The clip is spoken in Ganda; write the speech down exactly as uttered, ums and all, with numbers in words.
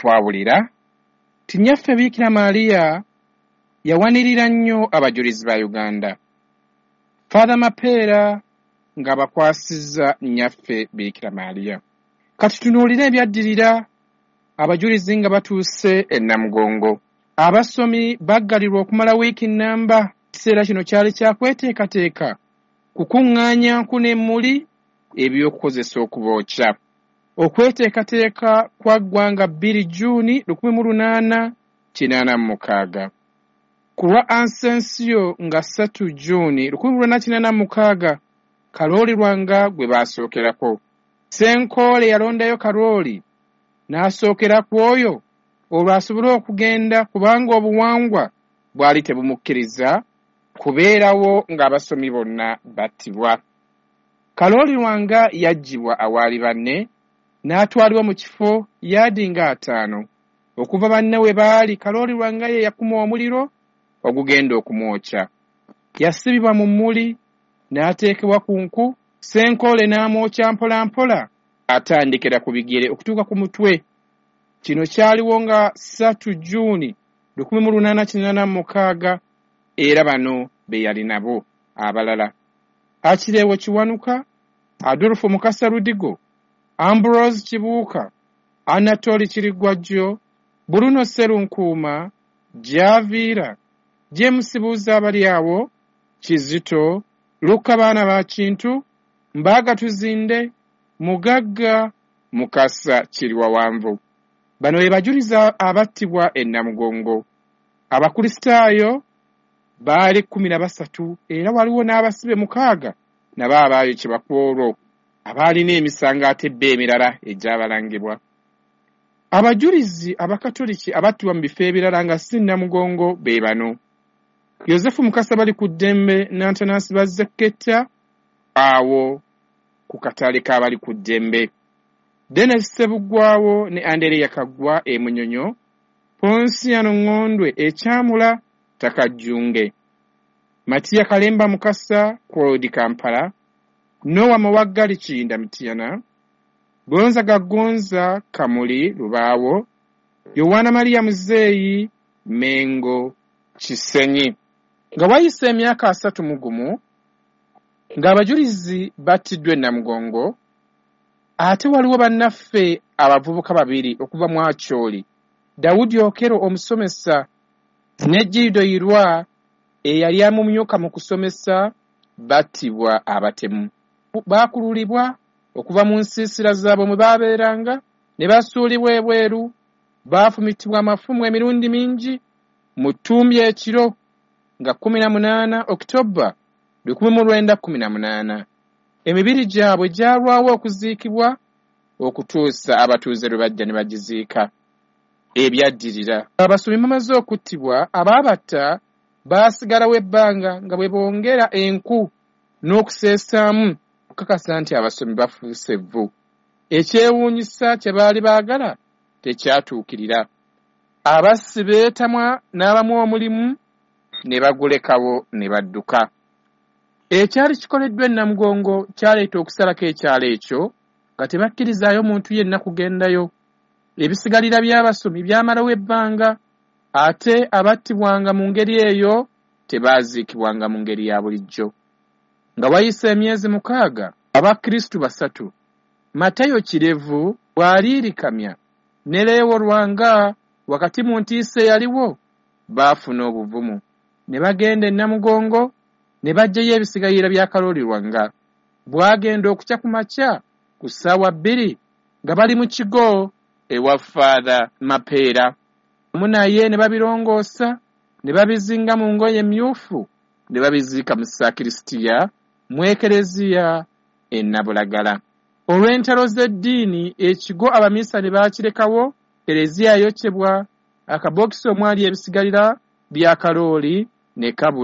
Twawulira ti Nnyaffe Biikira Maria yawanirira nnyo abajulizi ba Uganda. Father Mapeera ng'abakwasizza Nnyaffe Biikira Maria. Kati tunuulire ebyaddirira abajulizi nga batuuse e Namugongo. Abasomi baggalirwa okumala wiiki nnamba. Ekiseera kino kyali kya kweteekateeka kukuŋŋaanya nku n'emmuli eby'okukozesa okubookya. Okweteekateeka kwaggwa nga bbiri Jjuuni lukumi mu lunaana kinaana mu mukaaga. Ku lwa Ascension nga ssatu Jjuuni lukumi mu lunaana kinaana mu mukaaga, Kalooli Lwanga gwe baasookerako. Ssenkoole yalondayo Kalooli n'asookera ku oyo olwo asobole okugenda kubanga obuwangwa bwali tebumukkiriza kubeerawo ng'abasomi bonna battibwa. Kalooli Lwanga yaggyibwa awaali banne n'atwalibwa mu kifo yaadi nga ataano. Okuva banne we baali, Kalooli Lwanga ye yakuma omuliro ogugenda okumwokya. Yasibibwa mu mmuli n'ateekebwa ku nku, Ssenkoole n'amwokya mpola mpola atandikira ku bigere okutuuka ku mutwe. Kino kyaliwo nga ssatu Jjuuni lukumi mu lunaana kinaana mu mukaaga era bano be yali nabo abalala: Akireewo Kiwanuka, Adolfo Mukasa Ludigo, Ambrose Kibuuka, Anatoli Kirigwajjo, Bruno Sserunkuuma, Javiira, James Buuza-Abalyawo, Kizito, Luka Baana ba Kintu, Mbaaga Tuzinde, Mugagga, Mukasa Kiriwawanvu. Bano be bajulizi abattibwa e Namugongo. Abakristaayo baali kkumi na basatu era waliwo n'abasibe mukaaga nabo abaayokebwa ku olwo abaalina emisango ate bo emirala egyabalangibwa. Abajulizi Abakatoliki abattibwa mu bifo ebirala nga si Namugongo be bano: Yozefu Mukasa Balikuddembe n'Antanasi Bazzeketta awo ku katale k'Abalikuddembe, Denis Ssebuggwawo ne Andereya Kaggwa e Munyonyo, Ponsiano Ŋŋondwe e Kyamula Takajjunge, Matiya Kalemba Mukasa Claude Kampala, Noah Mawaggali Kiyinda Mityana, Gonzaga Gonza Kamuli Lubaawo, Yowaana Maria Muzeeyi Mengo Kisenyi. Nga wayise emyaka asatu mu gumu ng'abajulizi battiddwa e Namugongo, ate waliwo bannaffe abavubuka babiri okuva mu Acholi, Dawudi Okero omusomesa ne Gido Irwa eyali amumyuka mu kusomesa battibwa abatemu. Baakululibwa okuva mu nsiisira zaabwe mwe baabeeranga ne basuulibwa ebweru, baafumitibwa amafumu emirundi mingi mu ttumbi ekiro nga kkumi na munaana Okitoba lukumi mu lwenda kkumi na munaana. Emibiri gyabwe gyalwawo okuziikibwa okutuusa abatuuze lwe bajja ne bagiziika. Ebyaddirira. Abasomi bamaze okuttibwa, abaabatta baasigalawo ebbanga nga bwe bongera enku n'okuseesaamu okukakasa nti abasomi bafuuse evvu. Ekyewuunyisa kye baali baagala tekyatuukirira. Abassi beetamwa n'abamu omulimu ne bagulekawo ne badduka. Ekyali kikoleddwa e Namugongo kyaleeta okusalako ekyalo ekyo nga tebakkirizaayo muntu yenna kugendayo. Ebisigalira by'abasomi byamalawo ebbanga ate abattibwanga mu ngeri eyo tebaaziikibwanga mu ngeri ya bulijjo. Nga wayise emyezi mukaaga, Abakristu basatu, Matayo Kirevu bw'aliirikamya ne Leewo Lwanga wakati mu ntiisa eyaliwo, baafuna obuvumu ne bagenda e Namugongo ne baggyayo ebisigalira bya Kalooli Lwanga. Bwagenda okukya ku makya ku ssaawa bbiri nga bali mu kigo ewa Father Mapeera. Wamu naye ne babirongoosa ne babizinga mu ngoye emmyufu ne babiziika mu sakirisitiya mu Ekereziya e Nabulagala. Olw'entalo z'eddiini ekigo abaminsani baakirekawo, Kereziya yayokyebwa, akabokisi omwali ebisigalira bya Kalooli ne kabula.